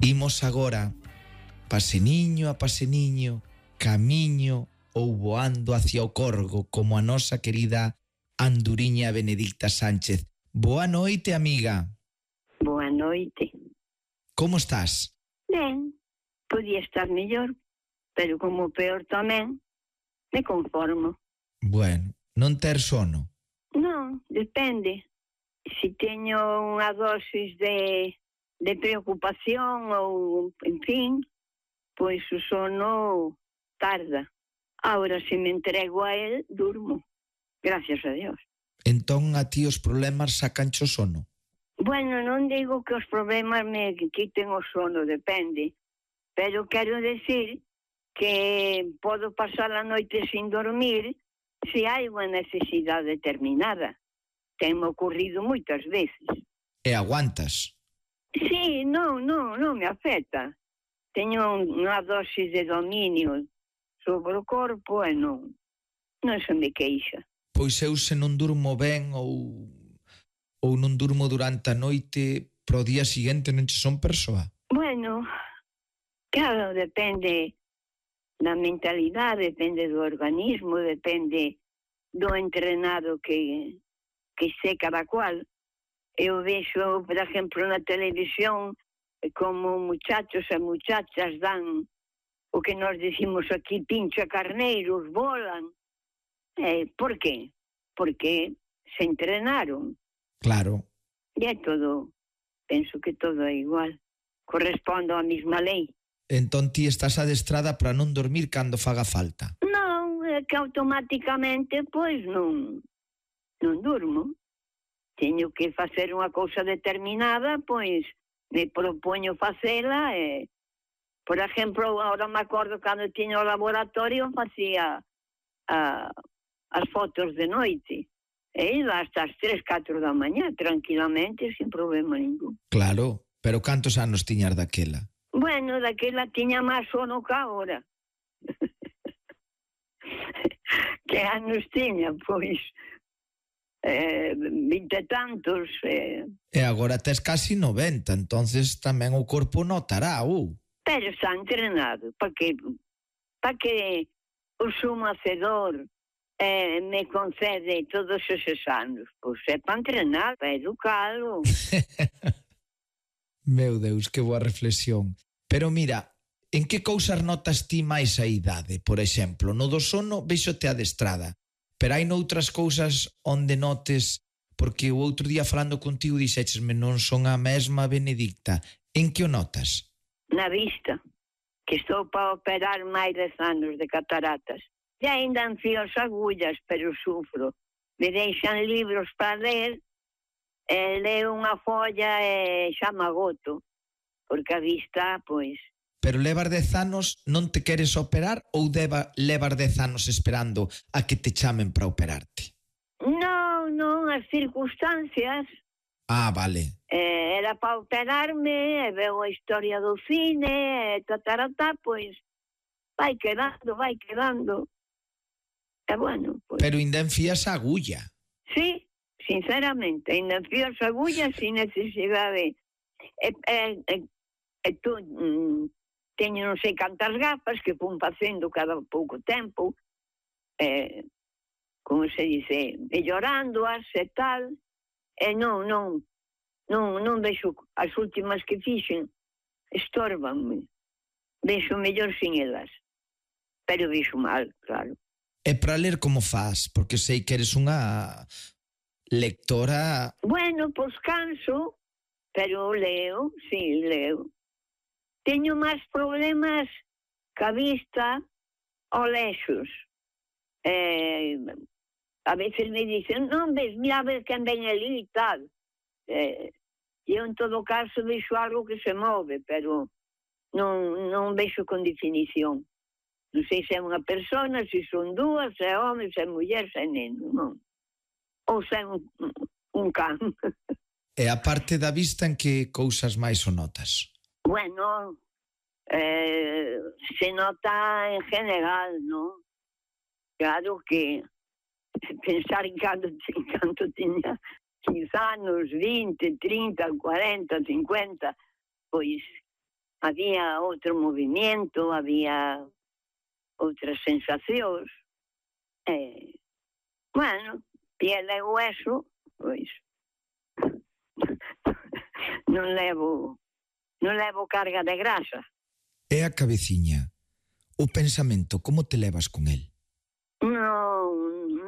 Imos agora, paseniño a paseniño, camiño ou voando hacia o Corgo como a nosa querida anduriña Benedicta Sánchez. Boa noite, amiga. Boa noite. Como estás? Ben, podía estar mellor, pero como peor tamén, me conformo. Bueno, non ter sono? Non, depende. Si teño unha dosis de preocupación ou, en fin, pois o sono tarda. Ahora, se me entrego a él, durmo. Gracias a Dios. Entón a ti os problemas sacancho sono? Bueno, non digo que os problemas me quiten o sono, depende. Pero quero decir que podo pasar a noite sin dormir se hai unha necesidade determinada. Tenme ocurrido moitas veces. E aguantas? Sí, non me afecta. Teño unha dosis de dominio sobre o corpo e non se me queixa. Pois eu se non durmo ben ou non durmo durante a noite, pro día seguinte non che son persoa? Bueno, claro, depende da mentalidade, depende do organismo, depende do entrenado que sé cada cual. Eu vexo, por exemplo, na televisión como muchachos e muchachas dan o que nós decimos aquí pincha carneiros, volan. Por qué? Porque se entrenaron. Claro. E é todo, penso que todo é igual. Correspondo á mesma lei. Entón ti estás adestrada para non dormir cando faga falta? Non, é que automáticamente, pois, non durmo. Teño que facer unha cousa determinada, pois, me propoño facela e, por exemplo, agora me acordo cando tiño o laboratorio, facía as fotos de noite. E iba hasta as 3, 4 da mañá, tranquilamente, sin problema ningún. Claro, pero cantos anos tiñas daquela? Bueno, daquela tiña máis sono que agora. Que anos tiña, pois, 20 e tantos. E agora tes casi 90, entonces tamén o corpo notará, Pero está entrenado, para que o sumo hacedor me concede todos eses anos. Pois é para entrenar, para educalo. Meu Deus, que boa reflexión. Pero mira, en que cousas notas ti máis a idade? Por exemplo, no do sono véxote adestrada, pero hai noutras cousas onde notes, porque o outro día falando contigo dixéchesme non son a mesma Benedicta. En que o notas? Na vista, que estou para operar máis 10 anos de cataratas. E ainda enfío as agullas, pero sufro. Me deixan libros para ler, leo unha folla e xa me agoto, porque a vista, pois... Pero levas 10 anos, non te queres operar ou levas 10 anos esperando a que te chamen para operarte? Non, as circunstancias. Ah, vale. Era para operarme, e veo a historia do cine, e pois vai quedando. E bueno, pois... Pero ainda enfías a agulla. Sí, sinceramente, ainda enfío as agullas sin necesidade. Tú teño non sei cantas gafas que fun facendo cada pouco tempo, como se dice, mellorándoas e tal, e non vexo as últimas que fixen, estórbanme. Vexo mellor sin elas, pero vexo mal, claro. E para ler como faz? Porque sei que eres unha lectora... Bueno, pois canso, pero leo, sí, leo. Teño máis problemas ca vista ao lexos. A veces me dicen, non ves, mira a ver quen ven ali e tal. E eu, en todo caso, vexo algo que se move, pero non vexo con definición. Non sei se é unha persona, se son dúas, se é home, se é muller, se é neno, non. Ou se é un can. E a parte da vista, en que cousas máis o notas? Bueno, se nota en general, non? Claro que pensar en canto tiña 15 anos, 20, 30, 40, 50, pois había outro movimento, había outras sensacións. Bueno, piel e hueso, pois non levo carga de grasa. E a cabeciña, o pensamento, como te levas con el? Non.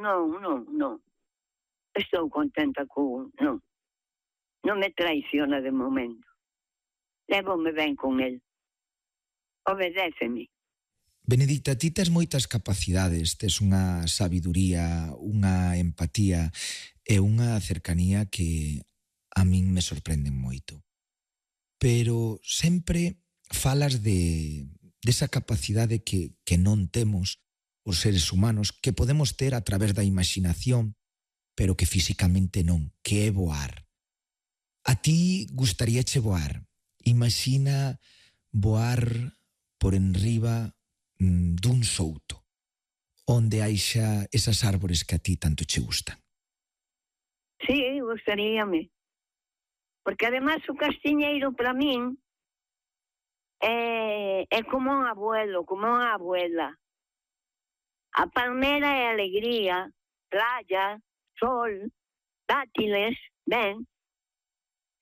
Estou contenta con... Non me traiciona de momento. Lévome ben con el. Obedéceme. Benedicta, ti tes moitas capacidades, tes unha sabiduría, unha empatía e unha cercanía que a min me sorprenden moito. Pero sempre falas desa capacidade que non temos os seres humanos, que podemos ter a través da imaginación, pero que físicamente non, que é voar. A ti gustaríache voar. Imagina voar por enriba dun souto, onde haixa esas árbores que a ti tanto che gustan. Sí, gustaríame. Porque además o castiñeiro para min é como un abuelo, como unha abuela. A palmera é alegría, playa, sol, dátiles, ben,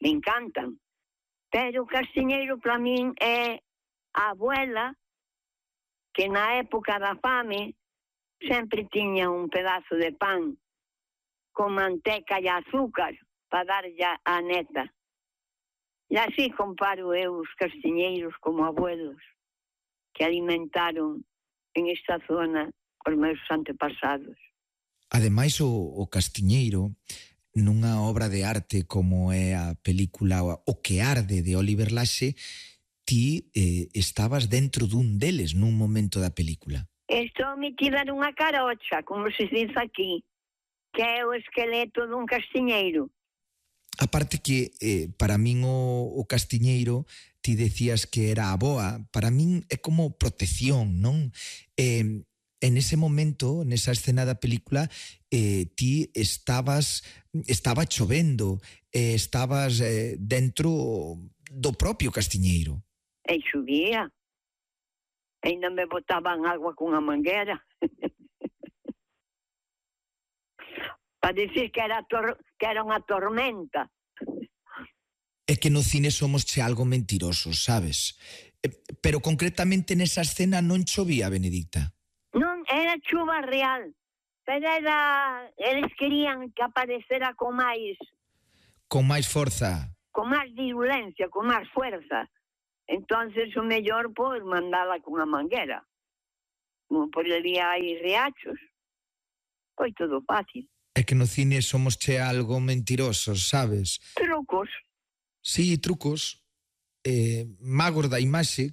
me encantan. Pero o castiñeiro para min é a abuela que na época da fame sempre tiña un pedazo de pan con manteca e azúcar para darlle a neta. E así comparo eu os castiñeiros como abuelos que alimentaron en esta zona os meus antepasados. Ademais, o castiñeiro, nunha obra de arte como é a película O que arde de Oliver Laxe, ti estabas dentro dun deles nun momento da película. Estou metida nunha carocha, como se diz aquí, que é o esqueleto dun castiñeiro. Aparte que para min o castiñeiro, ti decías que era a boa, para min é como protección, non? En ese momento, nesa escena da película, ti estaba chovendo, estabas dentro do propio castiñeiro. E chovía. Ainda me botaban agua con a manguera. Para decir que era unha tormenta. É que no cine somos algo mentirosos, sabes? Pero concretamente nesa escena non chovía, Benedicta. Non, era chuva real. Pero eles querían que aparecera con máis... Con máis forza. Con máis virulencia, con máis fuerza. Entonces o mellor por mandala con a manguera. Como por ali hai riachos. Foi todo fácil. É que no cine somos algo mentirosos, sabes? Trucos. Sí, trucos. Magos da imaxe